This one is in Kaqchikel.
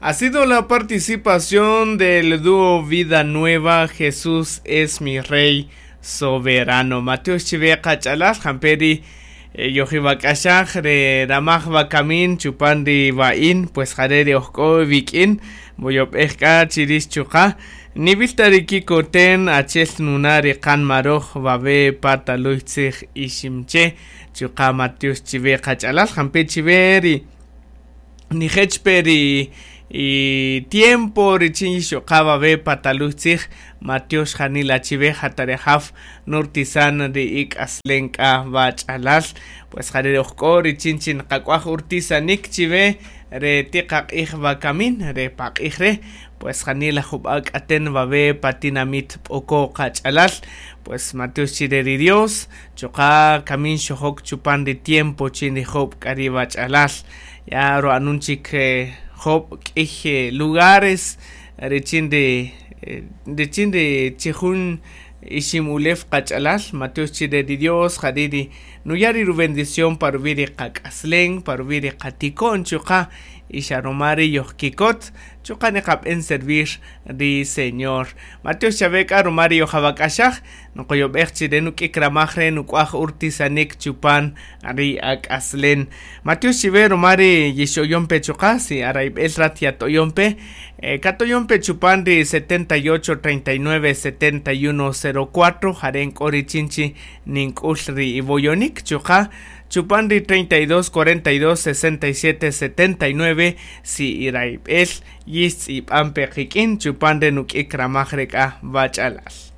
Ha sido la participación del dúo Vida Nueva, Jesús es mi Rey Soberano. Mateo chive qach'alal jamperi yojibak'axaj re ramaj wakamin chupan ri wa'in, pues jare ri ojk'o wik'in moyob'ej k'a chirix chuqa' nivilta ri kikoten achel nuna ri qanmaroj wawe pataluy tzij iximche chuqa' Mateus chive qach'alal jampe chive ri nijechpe ri y tiempo richin yixoqa wawe pataluy tzij Mateus janila chive jatarejaf nurtisan ri ik'aslen k'a wach'alal pues jare ri ojk'o richin chin qak'uaj urtisanik chive re tiqaq'ij wakamin re paq'ij re pues janila jub'a k'aten wawe patinamit p'oko qach'alal pues Mateus chire ri Dios chuqa' kamin xojok chupan ri tiempo chin ri job' k'a ri wach'alal ya ro'anun chik job' k'ij lugares richin ri richin ri chijun ixim ulew qach'alal Mateus chire ri Dios jari' ri nuya' ri rubendición pa ruwi' ri qak'aslen pa ruwi' ri qatiko'n chuqa' ixaroma ri yojkikot chuqa' niqab'en servir ri Señor. Mateus chawe k'a ruma ri yojawak'axaj nqoyob'ej chire nuk'ik ramaj re nuk'uaj urtisanik chupan ri ak'aslen. Mateus chiwe ruma ri yixoyompe chuqa' si arayb'el rat yatoyompe katoyompe chupan ri 78 39 71 04 jare nk'o richin chi nink'ul ri iwoyonik chuqa' chupan ri 32 42 67 79 si irayb'el yixtz'ib'anpe qik'in chupan re nuk'ik ramaj re k'a wach'alal.